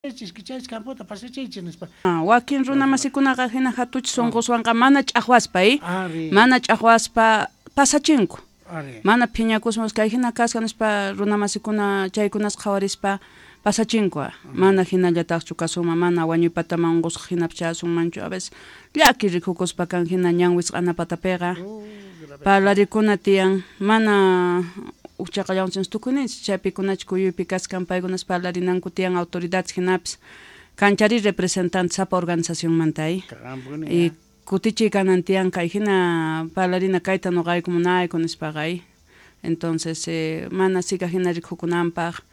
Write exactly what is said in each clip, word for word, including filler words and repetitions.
Chaychis campota pasachaychis nispa. Wakin runa masikunaqa hina hatuchis sunquswanqa mana ch'aqwaspa, eh? Mana ch'aqwaspa pasachinku. Mana phiñakuspa kay hina kasqa nispa runa masikuna chaykunas qhawarispa pasachinku. Mana hinallataqchu kasunman, mana wañuypataman unqusqa hinapas chayasunmanchu. A veces llaki rikukuspa kan hina ñan wisq'ana patapiqa. Parlarikuna tiyan, mana uqchaqallawanchis tukuyninchis chaypikunachu kuyuypi kaskan paykunas parlarinanku tiyan autoridades hinapis kanchari representante sapa organizacionmanta, eh? Y kutichiy kanan tiyan kay hina parlarina kayta nuqayku munayku nispaqa, eh? Entonces eh, mana sika hina rikukunanpaq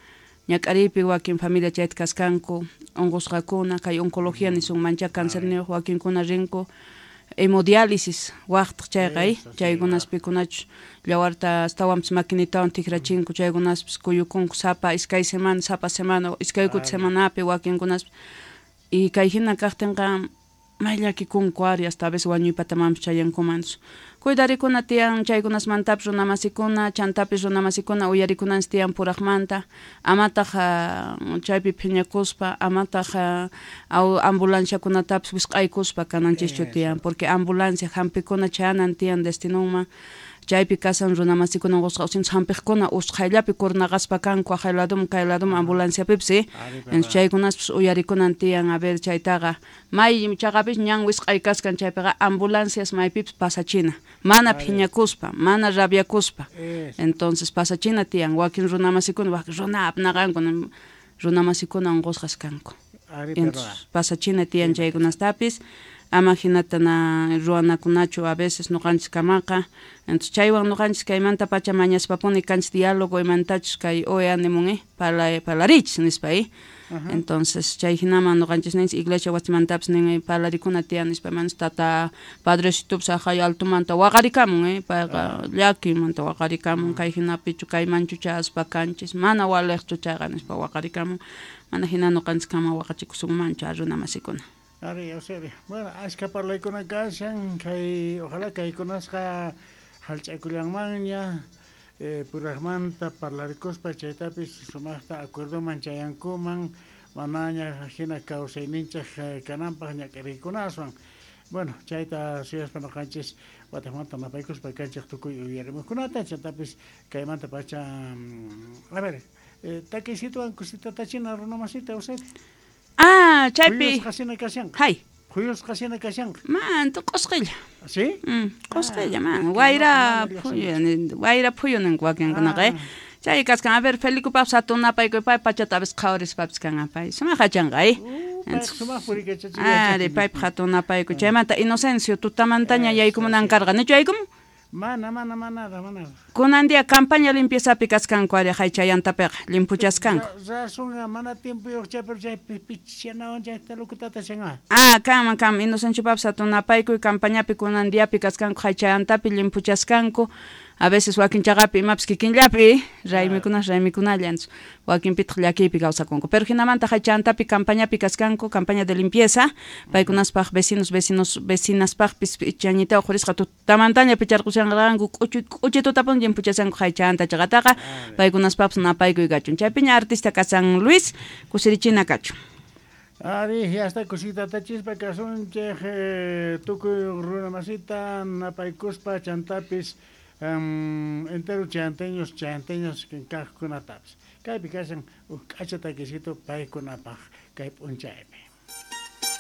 ñak'ariypi wakin familia chayta kaskanku unqusqakuna kay oncología nisunmancha cancerniyuq wakinkuna rinku hemodiálisis waqtaq chayqa, eh? Chaykunas pikunachus llawarta astawanpis maquinitawan tikrachinku chaykunaspis kuyukunku sapa iskay semana sapa semana iskay kuti semanapi wakinkunaspis y kay hina kaqtinqa may llakikunku ari hasta a veces wañuypatamanpis chayankuman. Cuidarikuna tiyan chaykunasmantapis runa masikuna chantapis runa masikuna uyarikunanchis tiyan puraqmanta amataq chaypi phiñakuspa amataq ambulanciakunatapis wisq'aykuspa kananchischu tiyan porque ambulancia hampikuna chayanan tiyan destinunman chaypi kasan runa masikuna unqusqa usinchis hampiqkuna usqhayllapi kurnaqaspa kanku aqhay ladoman kay ladoman ambulanciapipis, eh? Entonces chaykunaspis uyarikunan tiyan a ver chaytaqa may chaqapis ñan wisq'ay kaskan chaypiqa ambulancias maypipis pasachina mana phiñakuspa mana rabiakuspa entonces pasachina tiyan wakin runa masikuna wakin runa apnaqanku runa masikuna unqusqas kanku entonces pasachina tiyan chaykunastapis ama hinata na ruwanakunachu a veces nuqanchis kamaqa entonces chaywan nuqanchis kaymanta pacha mañaspapuni kanchis diálogo imantachus kay O E A nimun, eh? Parla, parlarichis nispa, eh? Entonces chay hinaman nuqanchis ninchis iglesia wasimantapis nin parlarikuna tiyan nispa manas tata padrecitopis aqhay altomanta waqarikamun, eh? Payqa llakimanta waqarikamun kay hinapichu kaymanchu chayaspa kanchis mana waliqchu chayqa nispa waqarikamun mana hina nuqanchis kama waqachikusunmanchu a runa masikuna. Ari, Eusebio. Bueno, ashka parlaykuna kashan, kay ojalá kaykunasqa hallch'akullanmanña, eh, puraqmanta parlarikuspa chaytapis sumaqta acuerdoman chayankuman, manaña hina kawsayninchik kananpaq ñak'ariykunaswan. Bueno, chayta suyaspa nuqanchis wataqmanta napaykuspa kanchik tukuy uyarimuqkunata, chantapis kaymanta pacha, a ver, eh, takiysituwan kusita runa masita, Eusebio. Ah, chaypi. Phuyusqa hina kashanqa. Hay. Phuyusqa hina kashanqa. Man, q'usqilla. ¿Sí? Mm, q'usqilla, man. Wayra phuyu, wayra phuyu ninku wakinkunaqa, eh. Chay kaskan, a ver, Felicupapis hatun napaykuy pay pachata a veces qhawarispapis kan pay. Sumaq achanqa, eh. Sumaq purikachachik. Ari, paypaq hatun napaykuy. Chaymanta Inocencio tutamantaña yaykumunan karqa, nichu yaykumun? Mana, mana, mana, mana. Kunan día campaña limpieza kaskanku ari haychayantapiqa limpuchaskanku. Razonqa mana tiempoyuq chaypi chaypi pichanawan chayta lukutata shanqa. Ah, kanman kanman Inocenciopapis hatun napaykuy campañapi kunan diapi kaskanku haychayantapi limpuchaskanku. A veces wakin chaqapi imapis kikinllapi raymikunas raymikunalla wakinpitaq llakiypi kawsakunku. Pero hinamanta haychayantapi campañapi kaskanku, campaña de limpieza, paykunaspaq vecinos, vecinos, vecinaspaqpis chañita uqhurisqa tutamantaña picharqushanqanku k'uchu k'uchitutapun limpuchashanku haychayanta chaqataqa paykunaspaqpis napaykuy kachun. Chaypiña artista kasan Luis kusirichina kachun. Ari, ya está kusita tachispa kasunchik tukuy runa masita napaykuspa chantapis Um, entero chayanteños, chayanteños kaqkunatapis. Kaypi kashan uj k'acha takisito paykunapaq kay p'unchaypi.